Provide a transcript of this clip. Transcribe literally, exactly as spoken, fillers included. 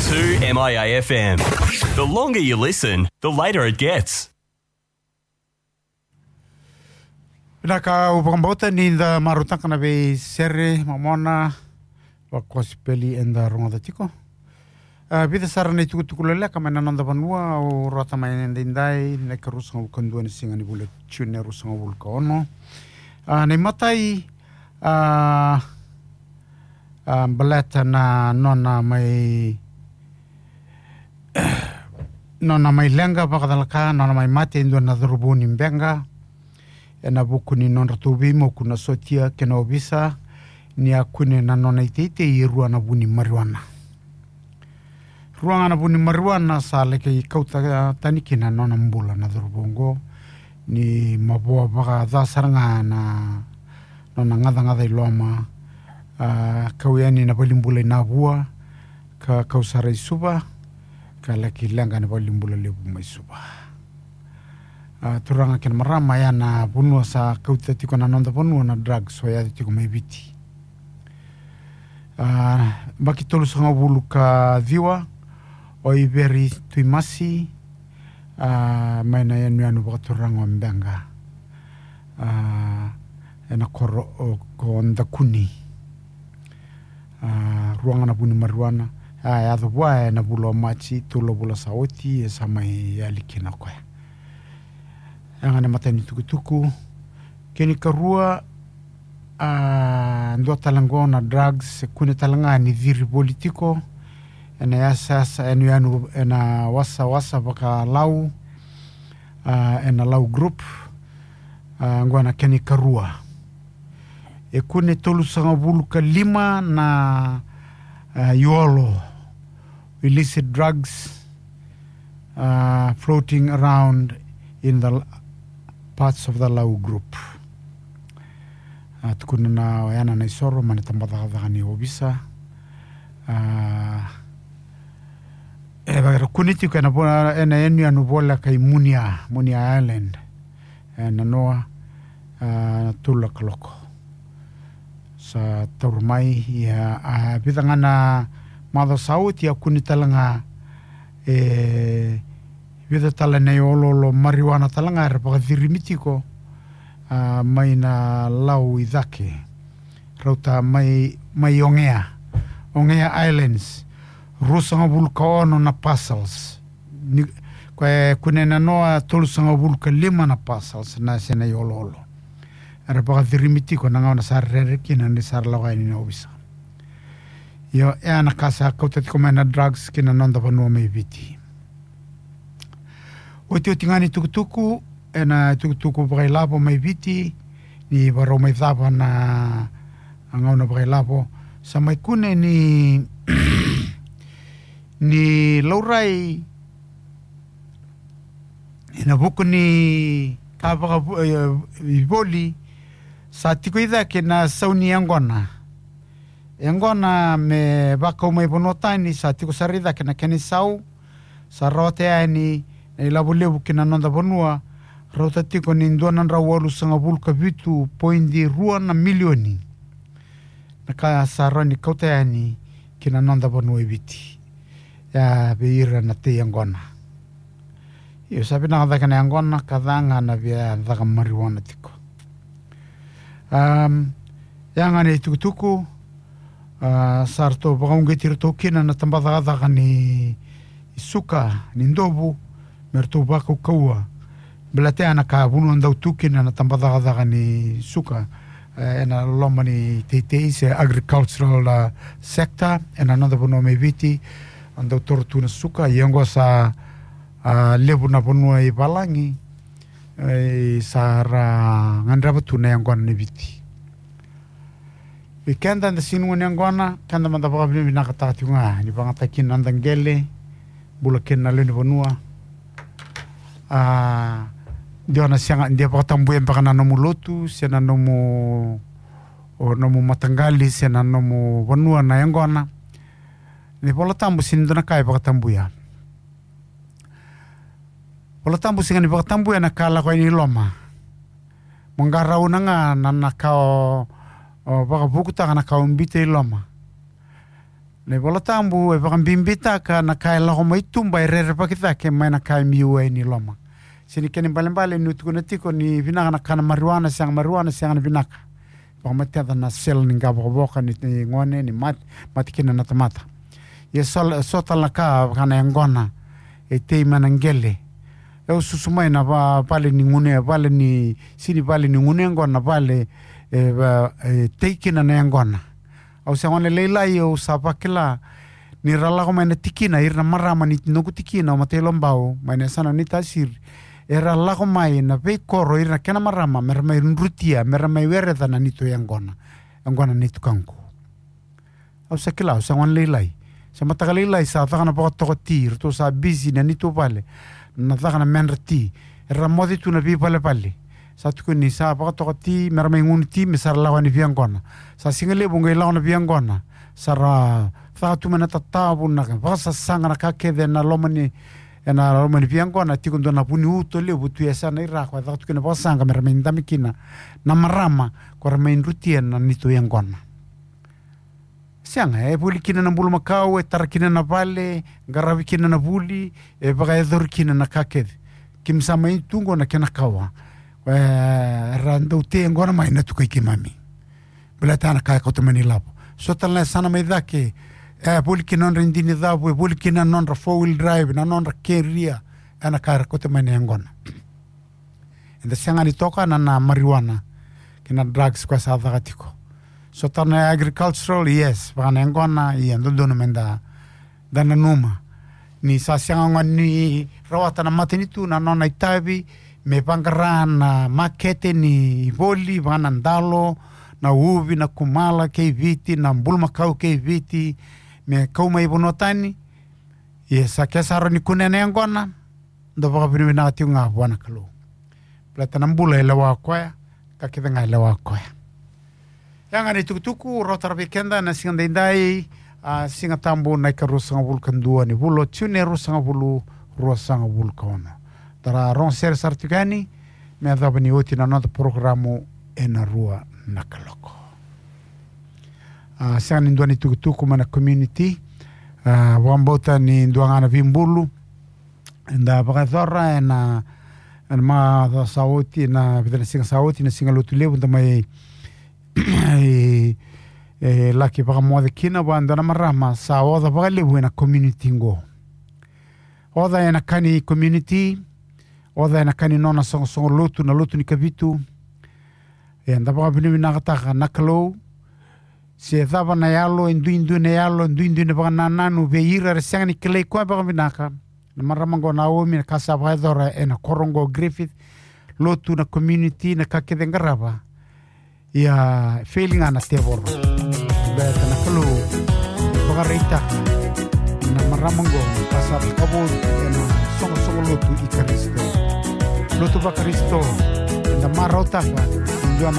two M I A F M. The longer you listen, the later it gets. Vinaka, au vakabauta ni da marautaka na veisere momona vakosipeli eda rogoca tiko. A, vica sara na itukutuku leleka mai na noda vanua au rawata mai edaidai, na ikarua sagavulu ka dua ni siga ni vula June, e rua sagavulu ka ono. A, na imatai, a, a, baleta na nona mai nona mai leqa vakacalaka, nona mai mate e dua na cauravou ni Beqa, ena vuku ni nodratou veimoku na sotia kei na ovisa, ni a kune na nona iteitei e rua na vu ni marijuana. Rua ga na vu ni marijuana sa laki kauta tani kina na nona bula na cauravou oqo, ni mavoa vakaca sara ga na nona gacagaca i loma, a, kau yani na valenibula i Navua, ka kau sara i Suva, ka laki leqa na valenibula levu mai Suva. A, turaga kei na marama, ya na vanua sa kauta tiko na noda vanua na drugs, o ya tiko mai Viti. A, baki tolusagavulu ka ciwa, o Iveri Tuimasi, a, mai na yanuyanu vakaturaga o Beqa, a, ena koro o Kodakuni. A, rua ga na vu ni marijuana, a, yaco vua ena vula o Maji, tolu na vula sa oti, e sa mai yali kina o koya. Ya ga na imatai ni tukutuku. Kena ikarua, a, dua tale oqo na drugs e kune tale ga ni ciri voli tiko ena yasayasa, yanuyanu, ena wasawasa vaka-Lau, a, ena Lau group. A, oqo na kena ikarua. E kune tolusagavulu ka lima na, a, iolo, illicit drugs, uh, floating around in the l-, parts of the Lau group. A, tukuna na o ya na isoro mai na tabacakacaka ni ovisa. A, e vakaira kune tiko ena vo-, ena yanuyanu voleka i Munia, Munia Island. E, na noa, a, tolu na kaloko. Sa taura mai, ia, a, vica ga na macawa sa oti, a kune tale ga, e, vica tale na ioloolo marijuana tale ga era vakacirimi tiko, a, mai na Lau i cake. Rauta mai, mai Ogea. Ogea Islands. Ruasagavulu ka ono na parcels. Ni, koya e kune na noa tolusagavulu ka lima na parcels na se na ioloolo. Era vakacirimi tiko na gauna sa rere kina ni sa ra lako yani na ovisa. Io, e a na ka sa kauta tiko mai na drugs ki na noda vanua mai Viti. Otioti ga ni tukutuku, ena tukutuku vakailavo mai Viti, ni varau mai cava na gauna vakailavo. Sa mai kune ni, ni laurai ena vuku ni ka vaka, e, ivoli, sa tiko i cake na sau ni yaqona. Yaqona me vakau mai vanua tani, sa tiko sara i cake na kena isau, sa rawata yani na ilavo levu ki na noda vanua, rauta tiko ni dua na drau walusagavulu ka vitu poidi rua na milioni. Na ka sa rawa ni kauta yani ki na noda vanua e Viti. Ia vei ira na tei yaqona. Io, sa vinaka cake na yaqona, ka ca ga na via caka marijuana tiko. Am, ia ga na itukutuku, a, sa ratou vakauqeti iratou kina na tabacakacaka ni suka, ni dovu, me ratou vakaukauwa. Baleta ya na ka vanua dau tu kina na tabacakacaka ni suka, e, ena loma ni teitei se agricultural, a, sector, ena noda vanua mai Viti, a dau toro tu na suka, ia oqo sa, a, levu na vanua i valagi, e, sa ra gadreva tu na yaqona ni Viti. Vei keda eda sega ni gone yaqona, keda mada vakavinavinakataka tiko ga ni vakayagataki kina na noda qele, bula kina na lewe ni vanua. A, de o na sega, de vakatabuya beka na nomu lotu, se na nomu, o nomu mataqali, se na nomu vanua na yaqona. Na iVola Tabu sega ni dua na ka e vakatabuya. Vola Tabu sega ni vakatabuya na ka lako yani i loma. Mo qarauna ga na, na ka o, o vakavukutaka na ka o biuta i loma. Na iVola Tabu e vakabibitaka na ka e lako mai tuba e rerevaki cake mai na ka e biu e ni loma. Sega ni kena ibalebale niu tukuna tiko ni vinaka na kana marijuana, sega marijuana, sega na vinaka. Vakamatata na sel ni qavokavoka ni, ni gone, ni mate, mate kina na tamata. Ia so, so tale na ka vaka na yaqona, e tei mai na qele. E susu mai na va, vale ni gunu, vale ni, sega ni vale ni gunu yaqona, vale, e, va, e tei kina na yaqona. Au se gone lailai, au sa vakila ni ra lako mai na tikina, ira na marama ni noqu tikina o Matailobau mai na yasana ni Tasiri. Era lako mai na veikoro, ira na kena marama, mera mai drutia, mera mai wereca na neitou yaqona, yaqona ni tukaqu. Au sa kila, au sa gone lailai. Sa mataka lailai, sa caka na vakatoka ti, ratou sa bisi na neitou vale, na caka na medra ti. Era moce tu na veivalevale. Sa tukuni sa vakatoka ti, mera mai gunu ti, me sa ra lako yani via yaqona. Sa siga levu qai lako na via yaqona. Sa ra caka tu mai na tatavu, na vakasasaqa, na ka kece ena loma ni, ena loma ni via yaqona, tiko dua na vuni uto levu tu e yasana i ra, ko e caka tu kina vakasaqa, mera mai dabe kina na marama, ko ra mai drutia na neitou yaqona. Sega, e voli kina na bulumakau, e tara kina na vale, qaravi kina na vuli, e vakayacori kina na ka kece. Keimami sa mai tu qo na kena kawa. E, ra dau tei yaqona mai na tukai keimami. Baleta na ka e kauta mai na ilavo. So tale na yasana mai cake, e voli kina na nodra idini cavu, e voli kina na nodra four wheel drive, na nodra keria, ena ka era kauta mai na yaqona. Eda sega ni toka na, na marijuana kei na drugs ko sa caka tiko. So tale na agricultural, yes, vaka na yaqona, ia dodonu meda, da nanuma. Ni sa sega ga ni rawata na matanitu na nona itavi me vaqara na makete ni voli, vaka na dalo, na uvi, na kumala kei Viti, na bulumakau kei Viti, me kau mai vanua tani. Ia sa ke sa rawa ni kunea na yaqona, da vakavinavinaka tiko ga vua na Kalou. Baleta na bula e lewa o koya, ka kece ga e lewa o koya. Ia ga na itukutuku, rauta vei keda na siga daidai, a, Siga Tabu na ikaruasagavulu ka dua ni vula o Jiune, ruasagavulu, ruasagavulu ka ono. Da ra rogo sere sara tiko yani, me yacova ni oti na noda porokaramu ena rua na kaloko. A, sega ni dua na itukutuku mai na community, a, vakabauta ni dua ga na veibulu eda vakayacora ena, ena macawa sa oti, na vica na siga sa oti, na Siga Lotu Levu, da mai, e, e, laki vakamoce kina vua e dua na marama sa oca vakalevu ena community qo. Oca ena ka ni community, oca ena ka ni nona soqosoqo lotu, na Lotu ni Kavitu. Eda vakavinavinakataka na Kalou, se cava na yalo, e duidui na yalo, e duidui na vakanananu vei ira era sega ni kilai koya vakavinaka. Na marama qo Naomi, na ka sa vakayacora ena koro qo Griffith, lotu, na community, na ka kece e qarava. Ia, fail ga na tevoro. Baleta na Kalou e vakaraitaka na marama qo ka sa vakavotu ena soqosoqo lotu i Karisito. Lotu vaKarisito, eda marautaka